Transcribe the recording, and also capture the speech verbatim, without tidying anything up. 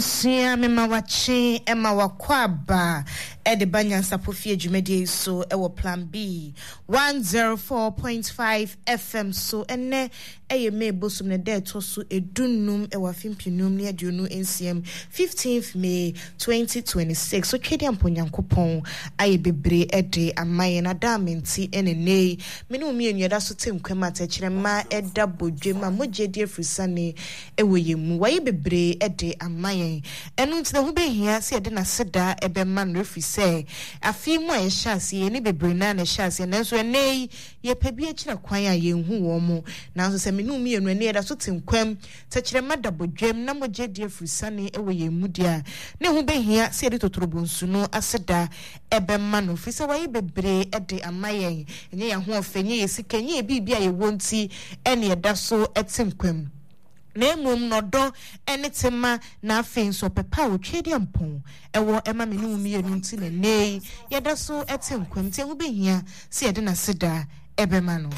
Sua mema wakye ma wakɔ aba de ba Nyansapɔ Fie dwumadie yi so wɔ Plan B one zero four point five F M so. Ɛnɛ ɛyɛ May bosom ne da ɛtɔ so edunnum wɔ afe mpenu ne aduonu nsia, fifteenth May twenty twenty-six. So twɛdi ampo Nyankopɔn ayɛ bebree de ama yɛn adame nti ɛne nne yi me ne wo mmienu yɛda so te nkwam atɛkyerɛma ɛda bodwam a mogya di afirisane ɛwɔ yɛn mu. Wayɛ bebree de ama yɛn, ɛno nti na ho bɛhia sɛ yɛde n'aseda ɛbɛma no, ɛfiri sɛ afei mu a yɛhyɛ aseɛ yɛne bebree naa na ɛhyɛ aseɛ, nanso ɛnɛ yi yɛpɛ bi akyerɛ kwan a yɛnhu wɔn mo. Nanso sɛ me ne wo mmienu ɛne yɛda so te nkwam, tɛkyerɛma da bodwam na mogya di afirisane ɛwɔ yɛn mu deɛ a, ne ho bɛhia sɛ yɛde totorobonsu no aseda ɛbɛma no, firi sɛ wayɛ bebree de ama yɛn. Ɛnyɛ yɛn ahoɔfɛ, ɛnyɛ yɛ sika, ɛnyɛ yɛ biribi a yɛwɔ nti ɛne yɛda so te nkwam, na mmom n'ɔdɔ ne tema na afei nso ɔpɛpa a otwa di mpɔn ɛwɔ ɛma me ne wo mmienu nti na nnɛ yi yɛda so te nkwam. Nti ɛho bɛhia sɛ yɛde n'aseda ɛbɛma no.